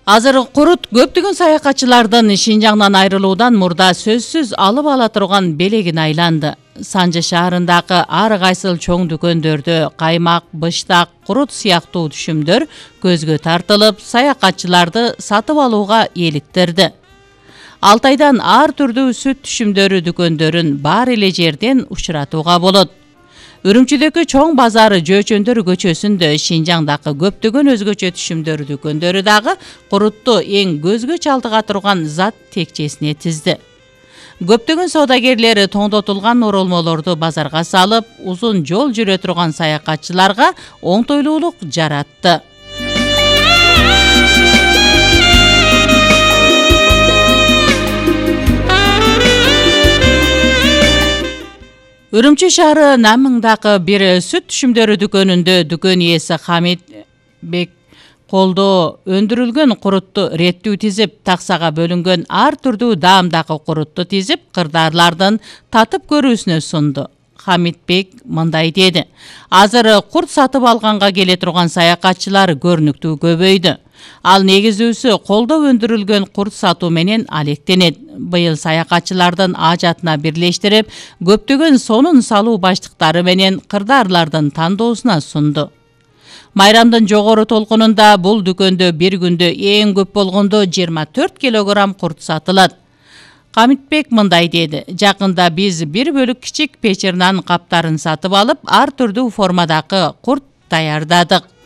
Азыр курут көптөгөн саякатчылардын Шинжаңдан айрылуудан мурда сөзсүз алып ала турган белегин айланды. Санжы шаарындагы ар кайсыл чоң дүкөндөрдө каймак, быштак, курут сыяктуу түшүмдөр көзгө тартылып, саякатчыларды сатып алууга эликтерди. Алтайдан ар түрдүү сүт түшүмдөрү дүкөндөрүн бар эле жерден учуратууга болот. Үрүмчүдөгү чоң базары Жөөчөндөр көчөсүндө Шинжаңдагы көптөгөн өзгөчө түшүмдөр дүкөндөрү дагы курутту эң көзгө чалдыга турган зат текчесине тизди. Көптөгөн соодагерлери тоңдотулган оролмолорду базарга салып, узун жол жүрө турган саякатчыларга оңтойлуулук жаратты. Үрүмчү шаары Намыңдагы бир сүт түшүмдөрү дүкөнүндө дүкөн ээси Хамит Бек колдо өндүрүлгөн курутту реттүү тизип, таксага бөлүнгөн ар түрдүү даамдагы курутту тизип, кырдаарлардын татып көрүүсүнө сунду. Хамит Бек мындай деди: азыр курт сатып алганга келе турган саякатчылар көрүнүктүү көбөйдү. Ал негизүүсү колдо өндүрүлгөн курт сатуу менен алектенет. Быйыл саякатчылардын ажатына бирлештирип, көптөгөн сонун салуу баштыктары менен кырдаарлардын тандоосуна сунду. Майрамдын жогору толкунунда бул дүкөндө бир күндө эң көп болгондо 24 килограмм курт сатылат. Хамитбек мындай деди: жакында биз бир бөлүк кичик печернан каптарын сатып алып, ар түрдүү формадагы курт даярдадык.